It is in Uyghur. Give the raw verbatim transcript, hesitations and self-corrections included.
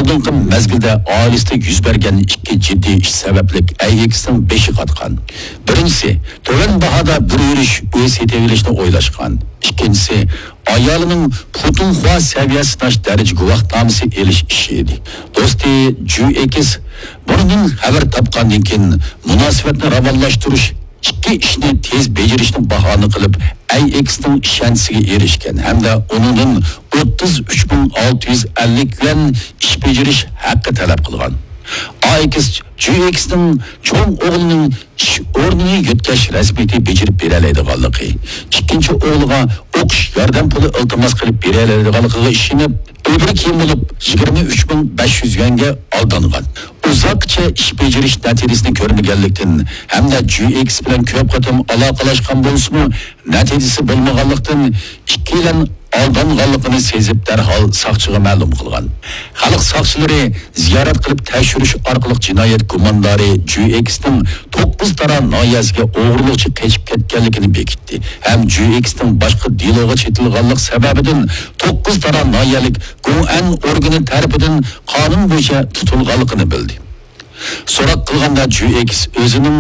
ئالدىنقى مەزگىلدە ئائىلىسىدە يۈز بەرگەن ئىككى جىددىي ئىش سەۋەبلىك ئەي ئېكسنىڭ بېشى قاتقان. بىرىنچىسى، تۆۋەن باھادا بىر يۈرۈش ئۆي سېتىۋېلىشنى ئويلاشقان. ئىككىنچىسى، ئايالىنىڭ پۇتۇنخۇا سەۋىيەسى ناش دەرىجە گۇۋاھنامىسى ئېلىش ئىشى ئىدى. دوستى جۈ ئېكس بۇنىڭدىن خەۋەر تاپقاندىن كېيىن، مۇناسىۋەتنى راۋانلاشتۇرۇش، ئىككى ئىشنى تېز بېجىرىشنى باھانە قىلىپ، ئەي ئېكسنىڭ ئىشەنچىسىگە ئېرىشكەن ھەمدە ئۇنىڭدىن ئوتتۇز ئۈچ مىڭ ئالتە يۈز ئەللىك يۈەن ئىش بېجىرىش ھەققى تەلەپ قىلغان. ئاي ئېكس جۈ ئېكسنىڭ چوڭ ئوغلىنىڭ ئىش ئورنىنى يۆتكەش رەسمىيىتى بېجىرىپ بېرەلەيدىغانلىقى، ئىككىنچى ئوغلىغا ئوقۇش ياردەم پۇلى ئىلتىماس قىلىپ بېرەلەيدىغانلىقىغا ئىشىنىپ، ئۆبرە كىيىم بولۇپ يىگىرمە ئۈچ مىڭ بەش يۈز يۈەنگە ئالدانغان. ئۇزاققىچە ئىش بېجىرىش نەتىجىسىنى كۆرمىگەنلىكتىن ھەمدە جۈ ئېكس بىلەن كۆپ قېتىم ئالاقىلاشقان بولسىمۇ، نەتىجىسى بولمىغانلىقتىن، ئىككىيلەن ئالدانغانلىقىنى سېزىپ، دەرھال ساقچىغا مەلۇم قىلغان. خەلق ساقچىلىرى زىيارەت قىلىپ تەكشۈرۈش ئارقىلىق جىنايەت گۇماندارى جۈ ئېكسنىڭ توققۇز تارا ناھىيەسىگە ئوغرىلىقچە قېچىپ كەتكەنلىكىنى بېكىتتى ھەم جۈ ئېكسنىڭ باشقا دېلوغا چېتىلغانلىق سەۋەبىدىن توققۇز تارا ناھىيەلىك گوئەن ئورگىنى تەرىپىدىن قانۇن بويىچە تۇتۇلغانلىقىنى بىلدى. سوراق قىلغاندا جۈ ئېكس ئۆزىنىڭ